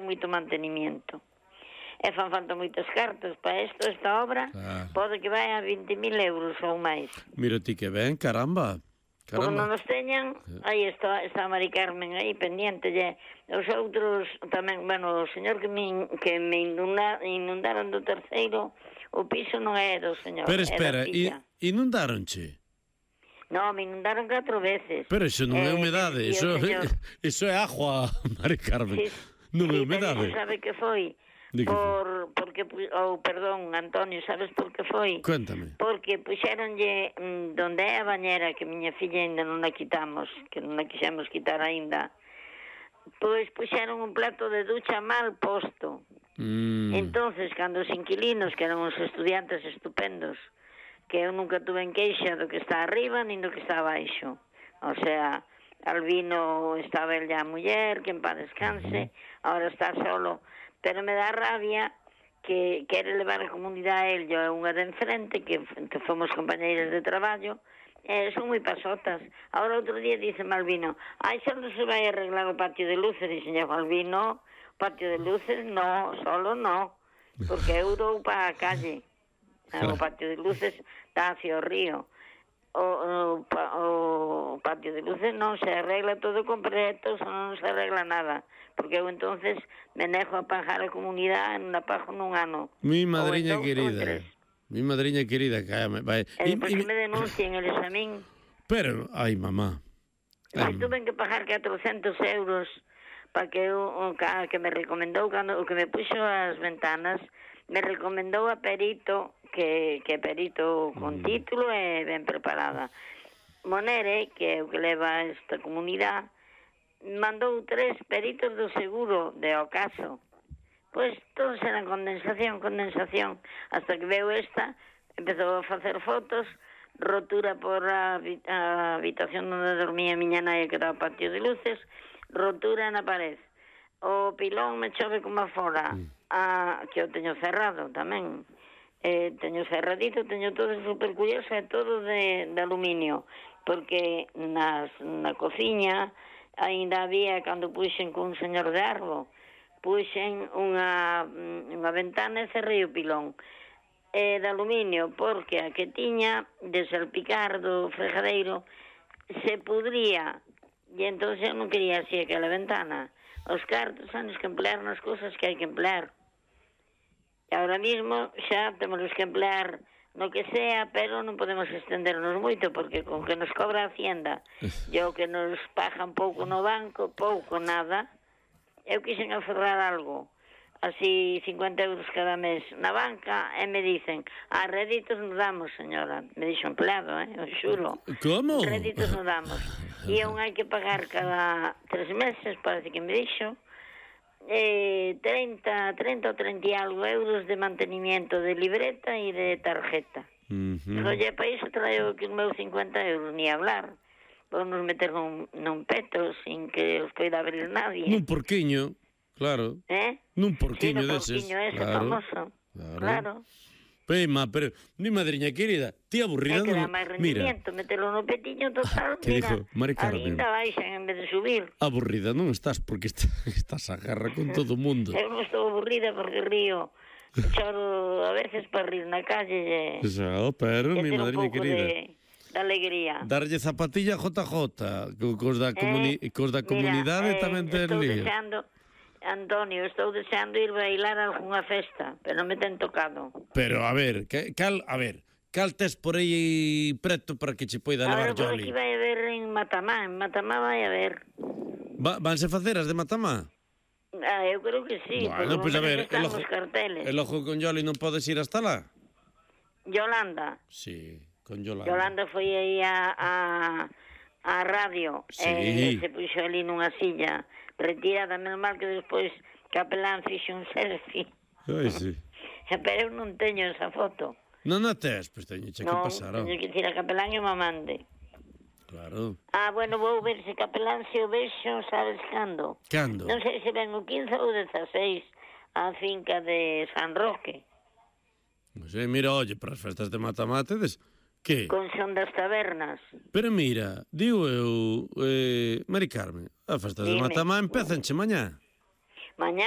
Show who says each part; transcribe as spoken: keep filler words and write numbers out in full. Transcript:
Speaker 1: moito mantenimiento. E fan falta moitas cartas para isto, esta obra, claro. Pode que vai a vinte mil euros ou máis.
Speaker 2: Mira ti que ben, caramba.
Speaker 1: Como non nos teñan, aí está, está Mari Carmen aí pendiente, e os outros tamén, bueno, o señor que me, que me inunda, inundaron do terceiro, o piso non é do señor.
Speaker 2: Pero espera, inundaronche?
Speaker 1: No, me inundaron catro veces.
Speaker 2: Pero iso non é humedade, eh, iso, iso é agua, Mari Carmen, sí, non é humedade.
Speaker 1: Sí, sabe que foi? Por, porque, ou, oh, perdón, Antonio, sabes por que foi?
Speaker 2: Cuéntame.
Speaker 1: Porque puxeronlle mm, donde é a bañera, que miña filla ainda non a quitamos, que non a quixemos quitar ainda, pois puxeron un plato de ducha mal posto. Mm. Entonces, cando os inquilinos, que eran uns estudiantes estupendos, que eu nunca tuve en queixa do que está arriba, nin do que está abaixo. O sea, Albino estaba el ya a muller, que en paz descanse, mm. Ahora está solo. Pero me dá rabia que quere levar a comunidade a él, yo é unha de enfrente, que, que fomos compañeiras de traballo, eh, son moi pasotas. Ahora outro día dice Malvino, ai, só non se vai arreglar o patio de luces. Dice, Malvino, patio de luces, no, solo no, porque eu dou para a calle. O patio de luces está hacia o río. O, o, o patio de luces non se arregla todo completo, non se arregla nada. Porque eu entonces me nejo a pagar a comunidade, non a pago nun ano.
Speaker 2: Mi madriña querida, mi madriña querida, cállame.
Speaker 1: E depois que me denuncien eles a min.
Speaker 2: Pero, ai, mamá.
Speaker 1: Se tuve que pagar catrocentos euros para que o que me recomendou, cando, o que me puxo as ventanas, me recomendou a perito, que, que perito con mm. título e ben preparada. Monere, que é o que leva esta comunidade, mandou tres peritos do seguro de Ocaso. Pois todos eran condensación, condensación, hasta que veo esta, empezou a facer fotos, rotura por a, a habitación onde dormía a miña nai, que era o patio de luces, rotura na pared. O pilón me chove como afora, a, que eu teño cerrado tamén. Eh, teño cerradito, teño todo super curioso, é todo de, de aluminio, porque nas, na cociña ainda había, cando puxen con un señor de Arbo, puxen unha, unha ventana e cerrei o pilón. É de aluminio, porque a que tiña de salpicar do fregadeiro se pudría, e entón eu non quería así aquela ventana. Os cartos anos que emplear nas cousas que hai que emplear. E ahora mismo xa temos que emplear no que sea, pero non podemos estendernos moito, porque con que nos cobra a Hacienda e o que nos pagan pouco no banco, pouco, nada, eu quixen aferrar algo, así cincuenta euros cada mes na banca, e me dicen, ah, réditos nos damos, señora. Me dixo empleado, eh, eu xuro.
Speaker 2: Como?
Speaker 1: Réditos nos damos. E un hai que pagar cada tres meses, parece que me dixo, Eh, treinta, treinta ou treinta e algo euros de mantenimiento de libreta e de tarjeta. Uh-huh. Oye, para iso traio que os meus cincuenta euros, ni hablar. Podemos meter nun, nun peto sin que os poida abrir nadie.
Speaker 2: Nun porquiño, claro.
Speaker 1: Eh?
Speaker 2: Nun porquiño
Speaker 1: sí,
Speaker 2: deses.
Speaker 1: Porquiño ese, claro, famoso. Claro. claro.
Speaker 2: Pema, pero, mi madriña querida, ti aburrida...
Speaker 1: É que dá máis rendimiento, metelo no petiño total,
Speaker 2: que
Speaker 1: mira,
Speaker 2: dijo, Mari Carmen,
Speaker 1: ainda baixan en vez de subir.
Speaker 2: Aburrida non estás, porque está, estás a guerra con todo o mundo.
Speaker 1: Eu non estou aburrida porque río, choro a veces para rir na calle. E,
Speaker 2: Xa, pero, mi madriña querida...
Speaker 1: De, de alegría.
Speaker 2: Darlle zapatilla J J, cos da, comuni eh, cos da comunidade mira, tamén ten lío.
Speaker 1: Deseando... Antonio, estou deseando ir bailar a algunha festa, pero non me ten tocado.
Speaker 2: Pero, a ver, que, cal, a ver, cal tes por aí preto para que che poida levar Jolly?
Speaker 1: Agora, por aquí vai haber en Matamá, en Matamá vai haber.
Speaker 2: Va, vanse facer as de Matamá?
Speaker 1: Ah, eu creo que sí,
Speaker 2: bueno, pues a ver,
Speaker 1: están os carteles.
Speaker 2: El ojo con Jolly non podes ir hasta lá?
Speaker 1: Yolanda?
Speaker 2: Sí, con Yolanda.
Speaker 1: Yolanda foi aí a... a... a radio, sí. E se puxo ali nunha silla retirada, menos mal que despois Capelán fixe un selfie.
Speaker 2: Ai, sí.
Speaker 1: Pero eu non teño esa foto.
Speaker 2: Non a tes, pois teño que
Speaker 1: no,
Speaker 2: pasar.
Speaker 1: Non, teño que ir a Capelán e me mande.
Speaker 2: Claro.
Speaker 1: Ah, bueno, vou ver se Capelán se o vexo, sabes cando?
Speaker 2: Cando?
Speaker 1: Non sei se ven o quince ou dezaseis a finca de San Roque.
Speaker 2: Non sei, mira, oye, para as festas de Matamatedes... Que?
Speaker 1: Con son das tabernas.
Speaker 2: Pero mira, digo eu, eh, Mari Carmen, a festas de Matamá empezanche mañá.
Speaker 1: Mañá?